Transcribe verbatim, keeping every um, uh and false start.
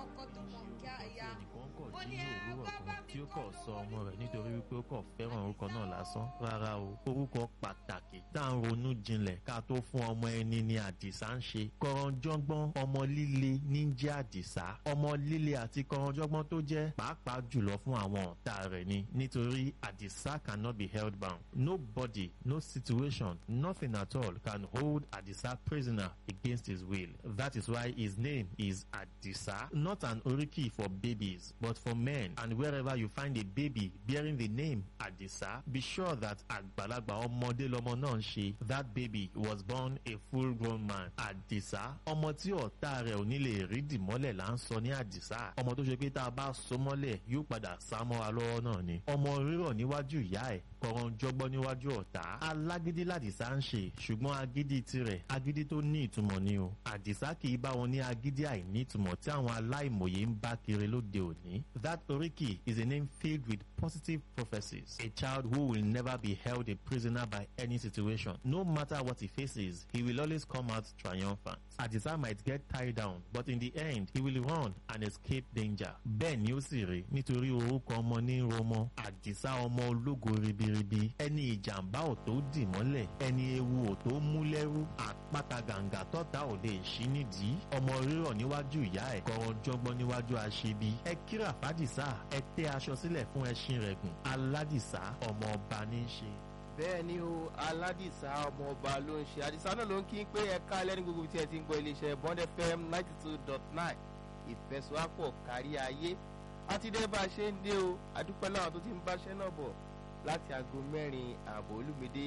Ọkọ tó mọ̀ kí a ya. Ẹnìkan kọ̀ Mo jí ní ní ẹ òwúrọ̀ wá bá kan mi tí ó kọ́ kọ̀ sọ lówó ọmọ rẹ̀ nínú. Nítorí wípé ó kọ̀ fẹ́ràn orúkọ náà lásán. Rárá o, orúkọ pàtàkì tá à ń ronú jinlẹ̀ ká tó fún ọmọ ẹni ni Àdìsá ń ṣe. Kọ̀rọ̀jọ́gbọ́n ọmọ líle ní jẹ́ Àdìsá. Ọmọ líle àti kọ̀rọ̀jọ́gbọ́n tó jẹ́ pàápàá jùlọ fún àwọn ọ̀tá rẹ̀ ni, nítorí Àdìsá cannot be held bound. Nobody, no situation, nothing at all can hold Àdìsá prisoner against his will. That is why his name is Àdìsá, not an oriki for babies, but for men. And wherever you find a baby bearing the name Àdìsá, be sure that àgbàlagbà ọmọdé lọmọ náà ń ṣe. That baby was born a full grown man. Àdìsá, ọmọ tí ọ̀tá rẹ̀ ò ní lè rí dìmọ́lẹ̀ là ń sọ ní Àdìsá. Ọmọ tó ṣe pé tá a bá so mọ́lẹ̀, yóò padà sá mọ́ra lọ́wọ́ náà ni. Ọmọ rírọ̀ níwájú ìyá ẹ̀, kọ̀rọ̀njọ́gbọ́n níwájú ọ̀tá. Alágídí làdìsá ń ṣe, ṣùgbọ́n agídí tirẹ̀, agídí tó ní ìtumọ̀ ni o. Àdìsá kì í bá wọn ní agídí àìnítumọ̀ tí àwọn aláìmọ̀ye ń bá kiri lóde òní. That oriki is a name filled with positive prophecies. A child who will never be held a prisoner by any situation. No matter what he faces, he will always come out triumphant. Àdìsá might get tied down, but in the end, he will run and escape danger. Bẹ́ẹ̀ ni ó sì rí, nítorí orúkọ ọmọ ní romọ. Àdìsá, ọmọ ológo ribiribi, ẹni ìjàmbá ò tó dì mọ́lẹ̀, ẹni ewu ò tó mú lẹ́rú, àpáta gàǹgà tọ́ta ò lè ṣí nídìí, ọmọ rírọ̀ níwájú ìyá ẹ̀, kọ̀rọ̀jọ́gbọ́n níwájú aṣebi. Ẹ kíra fàdìsá, ẹ tẹ́ aṣọ sílẹ̀ fún ẹṣin rẹ̀ gùn. Aládìsá, ọmọ ọba ní í ṣe. Bẹ́ẹ̀ ni o, Aládìsá, ọmọ ọba ló ń ṣe. Àdìsá náà ló ń kí pé ẹ̀ka alẹ́ ní gbogbo tí ẹ ti ń gbọ́ iléeṣẹ́ Bond F M ninety two dot nine, ìfẹsọ̀wápọ̀ kárí ayé. Àti dé bá a ṣe ń dé o. Adúpẹ́ láwọn tó ti ń báṣẹ́ náà bọ̀ láti aago mẹ́rin ààbọ̀. Olúmídé.